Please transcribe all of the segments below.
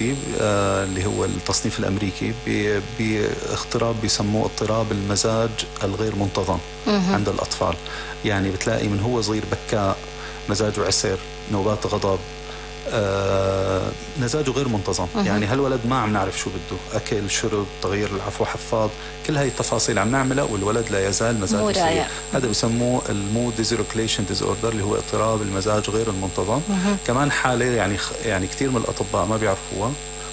اللي هو التصنيف الأمريكي باضطراب بيسموه اضطراب المزاج الغير منتظم عند الأطفال. يعني بتلاقي من هو صغير بكاء، مزاجه عسر، نوبات غضب، مزاجه غير منتظم. يعني هالولد ما عم نعرف شو بده، أكل، شرب، تغيير العفو، حفاض، كل هاي التفاصيل عم نعملها والولد لا يزال مزاجه سيء. هذا بيسموه المود ديزريكوليشن ديزوردر اللي هو اضطراب المزاج غير المنتظم. كمان حالة يعني كثير من الأطباء ما بيعرفوها،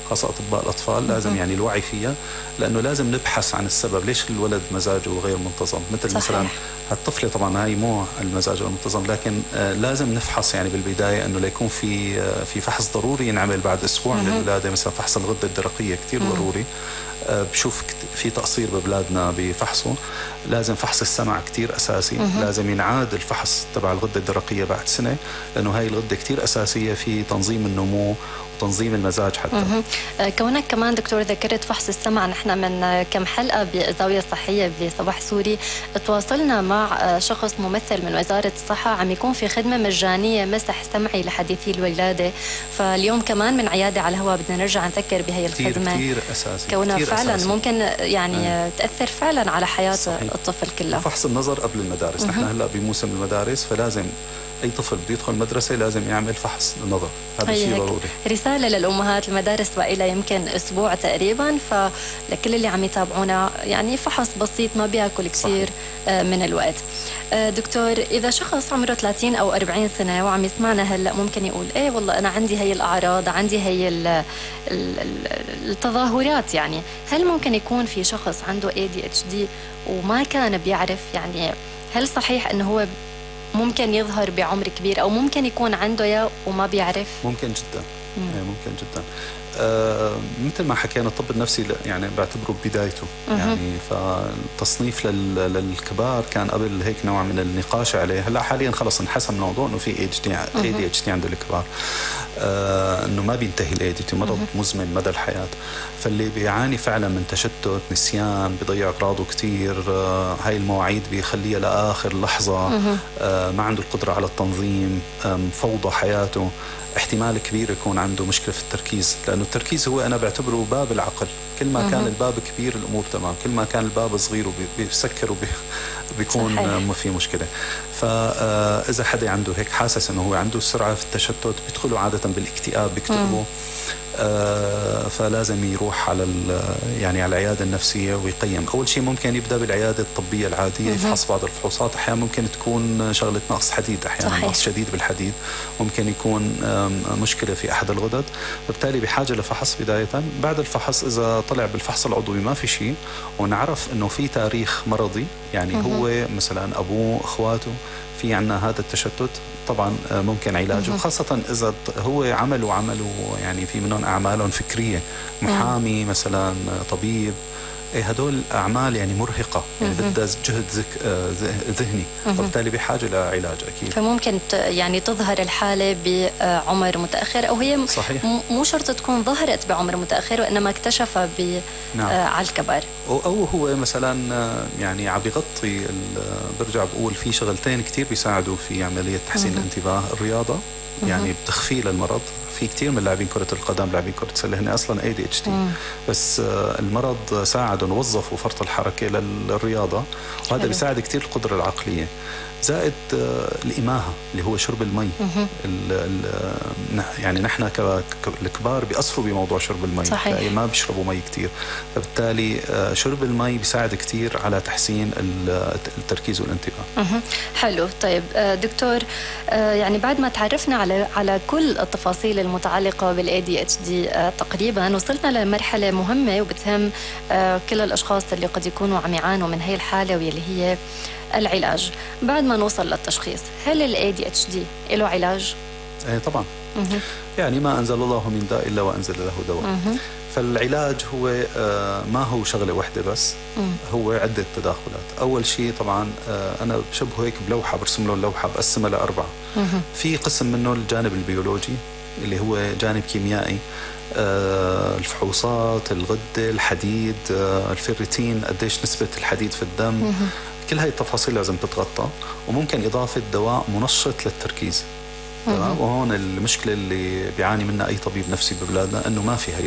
خاصة أطباء الأطفال. لازم يعني الوعي فيها، لأنه لازم نبحث عن السبب ليش الولد مزاجه غير منتظم. مثل صحيح. مثلا هالطفلة طبعا هاي مو المزاج المنتظم، لكن لازم نفحص يعني بالبداية أنه ليكون في فحص ضروري ينعمل بعد أسبوع من الولادة. مثلا فحص الغدة الدرقية كتير ضروري. بشوف في تقصير ببلادنا بفحصه. لازم فحص السمع كتير أساسي. لازم ينعاد الفحص تبع الغدة الدرقية بعد سنة، لأنه هاي الغدة كتير أساسية في تنظيم النمو وتنظيم المزاج حتى. كونك كمان دكتور ذكرت فحص السمع، نحن من كم حلقة بالزاوية الصحية بصباح سوري تواصلنا مع شخص ممثل من وزارة الصحة عم يكون في خدمة مجانية مسح سمعي لحديثي الولادة. فاليوم كمان من عيادة على الهواء بدنا نرجع نذكر بهي الخدمة كتير أساسي، كونها كتير فعلا أساسي. ممكن يعني تأثر فعلا على حياة صحيح. الطفل كله. فحص النظر قبل المدارس. نحن هلأ بموسم المدارس، فلازم أي طفل بده يدخل المدرسة لازم يعمل فحص النظر. هذا شيء ضروري. رسالة للأمهات، المدارس بقى يمكن أسبوع تقريبا، فلكل اللي عم يتابعونا يعني فحص بسيط ما بياكل كثير من الوقت. دكتور، إذا شخص عمره 30 أو 40 سنة وعم يسمعنا هلأ ممكن يقول إيه والله أنا عندي هي الأعراض، عندي هي التظاهرات، يعني هل ممكن يكون في شخص عنده ADHD وما كان بيعرف؟ يعني هل صحيح أنه هو ممكن يظهر بعمر كبير أو ممكن يكون عنده يا وما بيعرف؟ ممكن جدا. ممكن جدا. مثل ما حكينا الطب النفسي يعني بعتبره بدايته. يعني فالتصنيف للكبار كان قبل هيك نوع من النقاش عليه. هلا حاليا خلص انحسم الموضوع انه في ADHD عند الكبار، انه ما بينتهي الADHD، مرض مزمن مدى الحياة. فاللي بيعاني فعلا من تشتت، نسيان، بيضيع اغراضه كثير، هاي المواعيد بيخليها لاخر لحظة، ما عنده القدرة على التنظيم، فوضى حياته، احتمال كبير يكون عنده مشكلة في التركيز. لأنه التركيز هو أنا بعتبره باب العقل. كل ما كان الباب كبير الأمور تمام، كل ما كان الباب صغير وبيسكر وبيكون ما في مشكلة. فإذا حدا عنده هيك حاسس أنه هو عنده سرعة في التشتت، بيدخلوا عادة بالاكتئاب، بيكتئبوا. فلازم يروح على يعني على العيادة النفسية ويقيم. أول شيء ممكن يبدأ بالعيادة الطبية العادية، يفحص بعض الفحوصات. أحيانا ممكن تكون شغلة نقص حديد، أحيانا نقص شديد بالحديد، ممكن يكون مشكلة في أحد الغدد، وبالتالي بحاجة لفحص بداية. بعد الفحص إذا طلع بالفحص العضوي ما في شيء ونعرف أنه في تاريخ مرضي، يعني هو مثلا أبوه، أخواته في عنا هذا التشتت، طبعا ممكن علاجه. خاصة إذا هو عملوا يعني في منهم أعمالهم فكرية، محامي مثلا، طبيب، هدول أعمال يعني مرهقة، يعني بدها جهد ذهني، وبالتالي بحاجة لعلاج أكيد. فممكن يعني تظهر الحالة بعمر متأخر، أو هي صحيح. مو شرط تكون ظهرت بعمر متأخر وإنما اكتشفها على الكبر، أو هو مثلا يعني عم بيغطي. برجع بقول في شغلتين كتير بيساعدوا في عملية تحسين الانتباه: الرياضة، يعني بتخفي للمرض. في كتير من لاعبين كرة القدم، لاعبين كرة السلة، هن أصلا ADHD، بس المرض ساعدهم، وظفوا فرط الحركة للرياضة، وهذا بيساعد كتير القدرة العقلية. زائد الإماهة اللي هو شرب المي. يعني نحن كالكبار بيأثروا بموضوع شرب المي، يعني ما بيشربوا مي كتير، فبالتالي شرب المي بيساعد كتير على تحسين التركيز والانتباه. حلو. طيب دكتور، يعني بعد ما تعرفنا على كل التفاصيل المتعلقة بالADHD تقريبا وصلنا لمرحلة مهمة وبتهم كل الأشخاص اللي قد يكونوا عم يعانوا من هي الحالة، واللي هي العلاج. بعد ما نوصل للتشخيص، هل الADHD له علاج؟ طبعا. يعني ما أنزل الله من داء إلا وأنزل له دواء. فالعلاج هو ما هو شغلة واحدة بس، هو عدة تداخلات. أول شيء طبعا أنا بشبه هيك بلوحة، برسم له اللوحة بقسمها ل4. في قسم منه الجانب البيولوجي اللي هو جانب كيميائي، الفحوصات، الغدة، الحديد، الفيرتين، قديش نسبة الحديد في الدم، كل هاي التفاصيل لازم تتغطى. وممكن إضافة دواء منشط للتركيز، تمام. وهون المشكلة اللي بيعاني منها أي طبيب نفسي ببلادنا أنه ما في هي